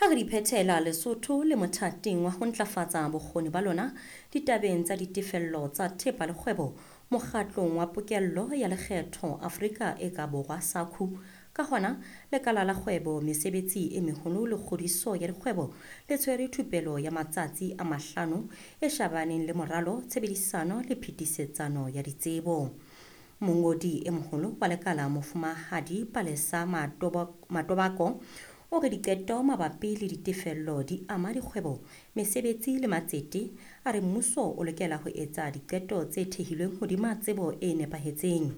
Ha re di phethela, Lesotho le mothating wa ho ntlafatsa bokgoni ba lona ditabeng tsa ditefello tsa thepa le kgwebo mokgatlong wa pokello ya lekgetho Afrika e ka Borwa, SACU. Ka hona, lekala la kgwebo, mesebetsi e meholo le kgodiso ya dikgwebo le tshwere thupelo ya matsatsi a 5 e shabaneng le moralo, tshebedisano le phetisetsano ya ditsebo. Mongodi e moholo wa lekala Mofumahadi Palesa Matobako o re diqeto mabapi le ditefello di ama dikgwebo, mesebetsi le matsete. A re mmuso o lokela ho etsa diqeto tse thehilweng hodima tsebo e nepahetseng.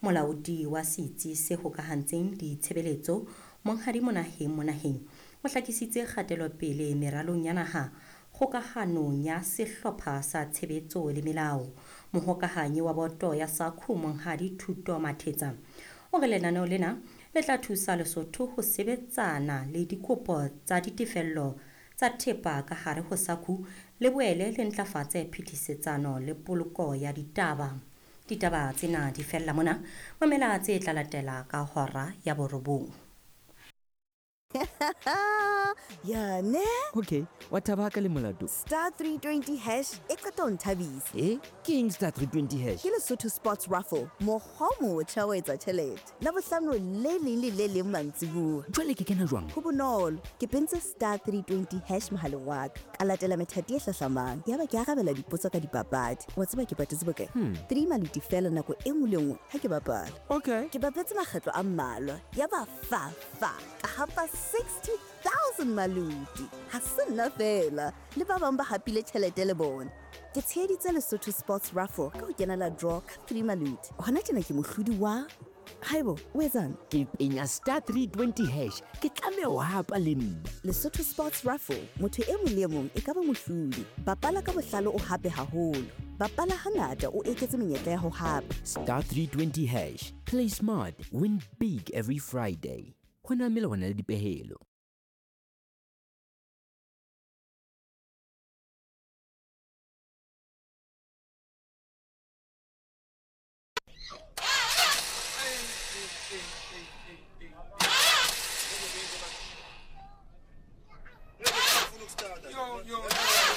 Molaodi wa setsi se hokahantseng ditshebeletso Monghadi Monaheng Monaheng o hlakisitse kgatelopele meralong ya naha kgokahanong ya sehlopha sa tshebetso le melao. Mohokahanyi wa boto ya SACU Monghadi Thuto Mathetsa o re lenaneo lena le tla thusa Lesotho ho sebetsana le dikopo tsa ditefello tsa thepa ka hare ho SACU, le boele le ntlafatse phetisetsano le poloko ya ditaba. Ditaba tsena di fella mona. Mamela tse tla latela ka hora ya 9. Ya ne? Okay, wa thaba ka le molato. Star 320 hash e qeta ho nthabisa. E, ke eng star 320 hash? Ke Lesotho Sports Raffle, mokgwa o motjha wa etsa tjhelete. Labohlano le leng le le leng mantsibuya. Jwale ke kena jwang? Ho bonolo, ke pentse star 320 hash mohaleng wa ka. Ka latela methati e hlahlamang. Yaba ke arabela dipotso ka dipapadi. Wa tseba ke patetse bokae? 3 maluti fela nako e nngwe le nngwe ha ke bapala. Okay. Ke bapetse makgetlo a mmalwa. Yaba fa fa ka hapa 60,000 maluti. Ha se nna fela, le ba bang ba hapile tjhelete le bona. Ke tsheheditse Lesotho Sports Raffle ka ho kenela draw ka 3 maluti. Hona tjena ke mohlodi wa. Haibo, o etsang? Ke penya star 320 hash. Ke tlameha ho hapa le nna. Lesotho Sports Raffle, motho e mong le e mong e ka ba mohlodi. Bapala ka bohlale o hape haholo. Bapala hangata o eketse menyetla ya ho hapa. Star 320 hash. Play smart, win big every Friday. Ho na melawana le dipehelo.